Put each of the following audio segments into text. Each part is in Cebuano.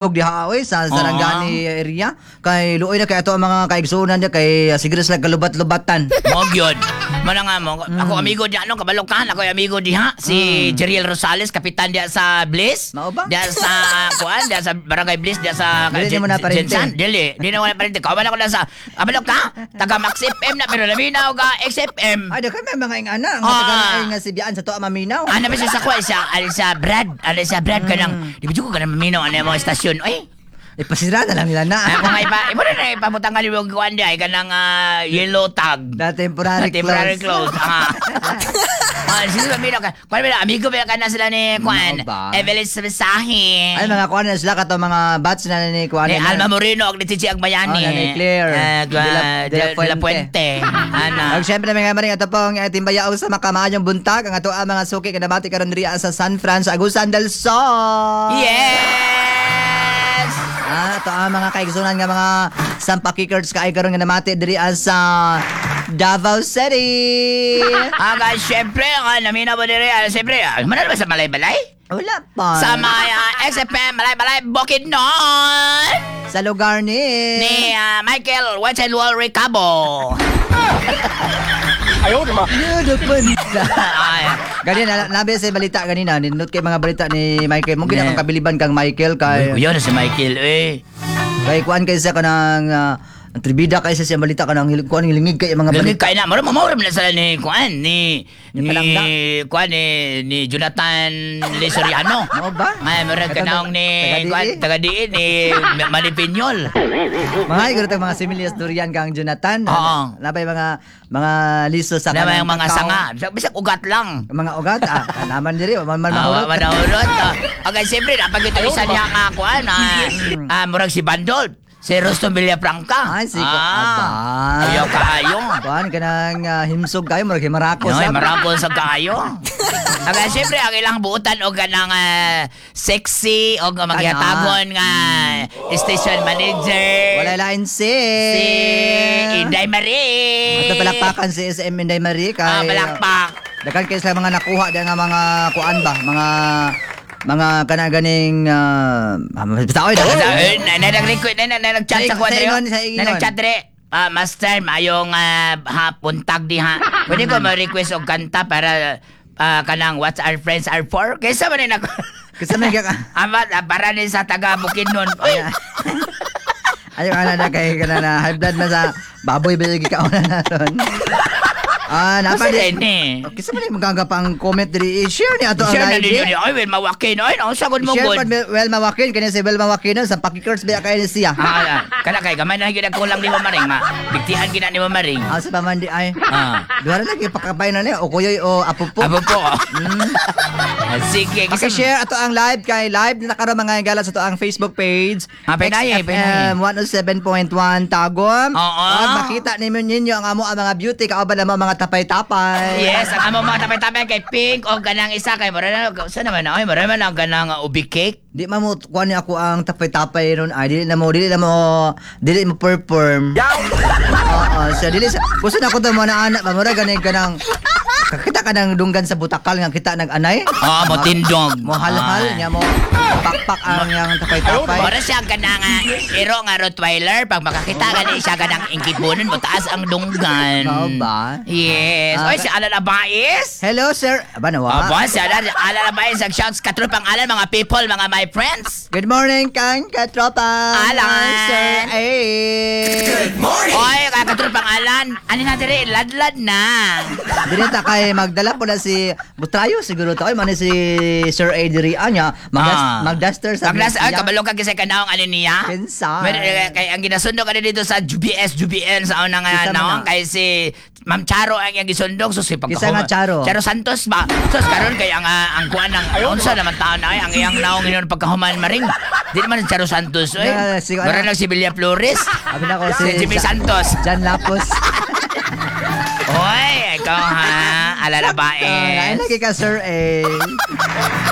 Diha oy sa Sarangani area kay luoy na kay ato ang mga kaigsuonan diha kay siguro sila kalubat-lubatan. Mo gyud. Mana nga mo. Ako amigo diha no, kabalo ka, ako amigo diha si Jeriel Rosales, kapitan diha sa Bliss. Mao ba? Diha sa kuan, diha sa Barangay Bliss, diha sa Dili nimo na parente. Jensan. Dili, di na wala parente. Kawan ako na sa kabalo ka, taga Max FM na pero labi na og XFM. Ay, daghan may mga ingana nga taga nga sibyaan sa tuwa maminaw. Ano ba siya sa kuan siya? Ano siya Brad? Ano siya Brad kanang di ba jud ko kanang maminaw ano mga estasyon. Oy, Ipasira na lang nila na. ako nga ipa, imo na na ipabutang ka yung kuan diha kanang yellow tag. Na temporary, Na temporary close. close. Ah. Ah, sino ba mino ka? Kuan ba amigo ba ka na sila ni kuan? Mao ba? Evelyn Sabisahi. Ay, mga kuan na sila kato mga batch na ni kuan Ni na. Alma Moreno og ni Chichi Agbayani. Oh, na ni Claire. De la Puente. Ana. Ag syempre mga maring ato pong timbayaw sa makamaayong buntag ang ato ang mga suki kanabati karon diri sa San Fran sa Agusan del Sol. Yes! Ah, ato ang mga kaigsunan nga mga sampakikers kaay karon nga namati diri sa Davao City. Ah, guys, syempre, namina mo diri, syempre, manalo ba sa Malay-Balay? Wala pa. Sa mga XFM Malay-Balay Bukidnon! Sa lugar ni Ni Michael Wetchenwall Ricabo. Beautiful. Ay, Ganina, nabi sa balita ganina, nindot kay mga balita ni Michael. Mungkin akong kabiliban kang Michael kay Uy, yun si Michael, eh. kay kuan kay siya kanang ang tribida kay siya siyang balita kanang kuan lingig kay mga Lagi balita. kay na, mura mo na sila ni Kuan, ni Ni Palangga. ni Kuan ni ni Jonathan Lisoriano. Mao ba? Ay, mura Katong kanaong ni taga-diin? Kuan, taga-diin ni Manny Piñol. Mga iguro tag mga similias durian kang Jonathan. Oo. Nabay mga liso sa Na kanang mga mga kakao. sanga, bisag, bisag ugat lang. Mga ugat ah, naman diri man man Ah, mahurot. manahurot. Ah. Okay, siyempre, napag ito isa niya nga kuan, murag si Bandol. Si Rustom Villafranca. Ay, si aba. Ayaw kaayo. Kuan kanang himsog kayo murag himarako Ay, sa. marapon sa kaayo. Aga, siyempre, ang ilang buutan o ganang sexy o magyatagon nga station manager. Wala lain si Si Inday Marie. Ato palakpakan si SM Inday Marie kay Ah, palakpak. Daghan kay sila mga nakuha diyan nga mga kuan ba, mga kana ganing basta oy daghan. Eh, na nag-request na na nag-chat sa Sa kuwan ingon, sa ingon. Na nag-chat dire. Ah, master, mayong hapon tag diha. Pwede ko ma-request og kanta para kanang What Our Friends Are For? Kaysa man ni nako. Kasi may ka Ama, para ni sa taga Bukidnon. Uy, Ayo ana na kay kana na high blood man sa baboy ba yung gikaon na ron. Ah, napa Kasi di. din eh. Kisa man yung maganga pang comment diri i-share ni ato ang Share na live. ninyo ni. Ay, well, mawakin. Ay, no, sagot mo Share good. pa well mawakin kani si Well Mawakin sa pakikers ba kay ni siya. Ah, kana kay gamay na gyud ang kulang ni Mamaring ma. Bigtian gina ni Mamaring. Ah, sa pamandi ay. Ah. Duha na lagi pakabay na niya o kuyoy o apupo. Abo po. Ah, sige, kasi Paki-share ato ang live kay live na karon mga higala sa ato ang Facebook page. Ah, pinaye, XFM 107.1 Tagum. Oo. Ug makita ninyo ninyo ang amo ang mga beauty kauban namo mga tapay-tapay. Yes, ang among mga tapay-tapay kay Pink o ganang isa kay mura na sa naman ay mura man ang ganang ubi cake. Di man mo kuan ni ako ang tapay-tapay ron ay dili na mo perform. Oo, so dili sa gusto na ko to mo na anak ba mura gani kanang kakita ka ng dunggan sa butakal nga kita nag-anay. Ah, mo tindog. Mo halhal Ah. nya mo pakpak ang yang tapay-tapay. Mura siya ganang iro nga Rottweiler pag makakita gani siya ganang ingkipunon mo taas ang dunggan. Mao ba? Yes. Ah, Oy, si Alan Abais. Hello, sir. Aba nawa. Aba, si Alan Abais ang shouts katropang Alan mga people, mga my friends. Good morning, kang katropa. Alan. Sir A. Oy, katropang Alan. Ani na dire ladlad na. Dili ta kay magdala po na si Butrayo siguro to. Ay man si Sir A diri anya magduster sa Magdas ay niya. kabalo ka kasi kanaong ano niya. Kinsa? Mer, kay ang ginasundok ani dito sa UBS UBN sa unang Kinsa man naong na? kay si Ma'am Charo ang iyang gisundok so si Kinsa nga Charo? Charo Santos ba? Sus karon kay ang kuan ng unsa naman taon ay ang iyang naong inon pagkahuman maring. Di naman si Charo Santos oy. Na, si- Mura lang si Villa Flores. Abi na ko Si Jimmy Santos. Jan Lapos. Oy, ikaw ha. Alala ba Ay, eh. lagi ka, Sir A.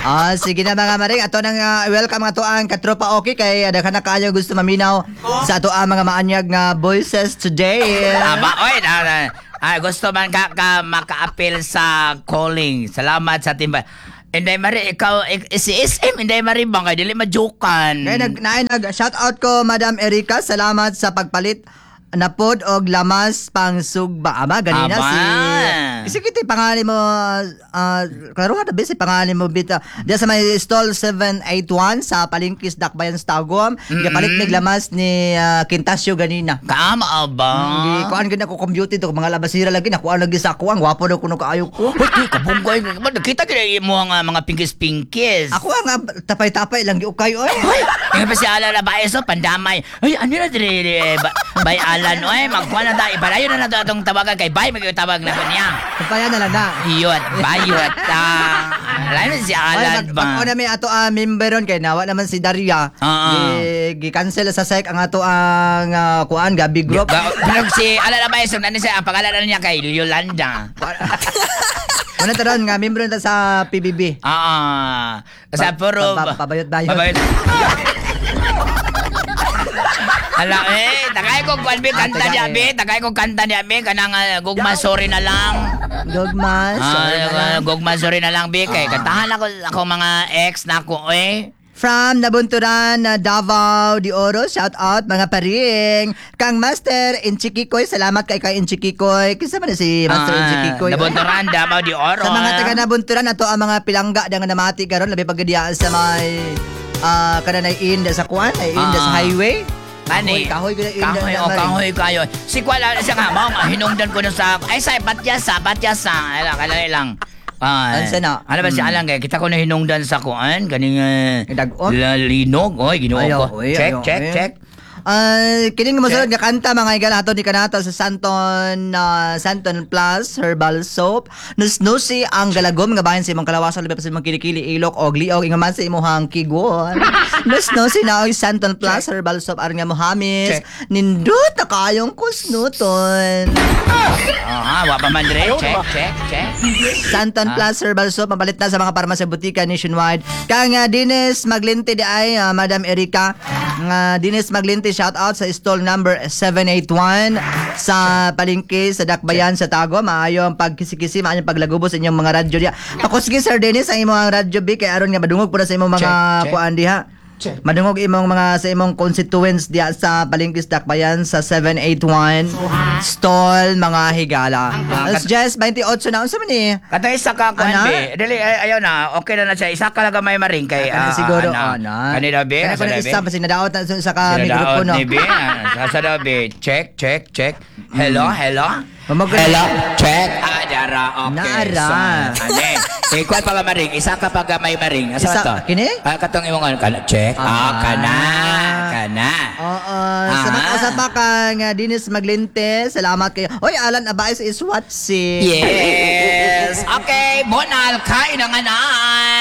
Ah, sige na mga maring. Ato nang welcome ato ang katropa okay kay daghan na kaayo gusto maminaw sa ato ang mga maanyag nga voices today. Aba, oy, na, gusto man ka maka-appeal sa calling. Salamat sa timba. Inday Marie, ikaw, si SM, Inday Marie bang, kay dili majokan. Kaya nag shout out ko, Madam Erika, salamat sa pagpalit napod og lamas pang sugba. Ama ganina Aba. Si sige ti pangalan mo, klaro na si pangalan mo bita. Diya sa may stall 781 sa Palengkis, Dakbayan, Tagum. Gipalit mig lamas ni Quintasio ganina. Kaama ba? Gi kuan gid ako compute to mga labasira lagi nakuha lagi sa ako ang gwapo daw kuno kaayo ko. Uy, di, kabunggoy. Ba, nakita kaya mo ang mga pingkis-pingkis. Ako ang tapay-tapay lang giukay oy. Uy, nga pa si Alan na ba so pandamay. Ay, ano na dire, bay Alan, oy, magkuha na tayo. Ibalayo na na to atong tawagan kay Bay, magtawag na ko niya. Kumpaya na lang na. Iyot, bayot. Alam mo si Ay, Alan ba? Pag na may ato member ron kay nawa naman si Daria. Gi-cancel sa SEC ang ato ang kuan Gabi Group. Pero si Alan na ba so ano siya, ang pangalan na niya kay Yolanda. Muna taron nga member na sa PBB. Sa puro Pabayot-bayot. Pabayot. Ala eh, tagay ko kwan be kanta Tagay. niya be, tagay ko kanta niya be kanang gugma sorry na lang. Gugma, sorry na lang. Gugma sorry na lang be kay kantahan ako ako mga ex na ako eh. From Nabunturan, Davao de Oro, shout out mga paring. Kang Master Inchikikoy, salamat kay Inchikikoy. Kinsa man na si Master Inchikikoy? Nabunturan, Davao de Oro. Sa mga taga Nabunturan, ato ang mga pilangga da nga namati karon labi pagadiya sa may kananay inda sa kuan, ay inda sa highway. Ani. Kahoy, kahoy gud inda. Kahoy, na oh, maring. Kahoy kayo. Si Kuala, siya nga, mao nga, hinungdan ko na sa, ay, sa, patyasa, patyasa. Ala, kalay lang. Ay, Ansa na? Ano ba si Alan kay kita ko na hinungdan sa kuan kaning Dag-on? Linog oy, Ginoo Ayaw, ko. oy, Check, ayaw, check, oy. check. Ay, kining mosunod nga kanta, mga higala, ato ni kanato sa Santon Plus Herbal Soap. Nusnusi ang galagom nga bahin sa imong kalawasan, labi pa sa imong kilikili, ilok og liog, ingon man sa imong kigon. Nusnusi na og Santon Plus Herbal Soap aron nga mohamis. Check. Nindot na kayong kusnuton. Aha, wa pa man dire. Check, check, check. Santon Plus Herbal Soap mapalit na sa mga parmasya butika nationwide. Kang Dines Maglinte di ay Madam Erika nga Dines Maglinte, shout out sa stall number 781 sa palengke sa Dakbayan sa Tago. Maayo ang pagkisikisi, maayo ang paglagubo sa inyong mga radyo diha. Pakusgi, Sir Dennis, ang imong radyo bi kay aron nga madungog pud na sa imong mga Check, check. kuan diha. Check. Madungog imong mga sa imong constituents diha sa palengke sa Dakbayan sa 781 stall, mga higala. As just 28 na unsa man ni? Katong isa ka kuan Ana? be. Dili ay, ayaw na, okay na na siya. Isa ka lang gamay maring kay Kana siguro ana. ana. Kanina be, Kana asa kuno na, be? isa basi nadaot na sa ka Sinadaot mikropono. ni be. Asa na be? Check, check, check. Hello, hello. Hello, check. Dara, okay. Naara. So, ane. Eh, kuwan pa ba maring? Isa ka pa gamay maring. Asa Isa, to? kini? Katong imong ano, kana, check. Kana. Kana. Oo, sa mga usap pa kang Dennis Maglinte, salamat kayo. Oy, Alan Abais is watching. Yes. Okay, Bonal, kain ang anak.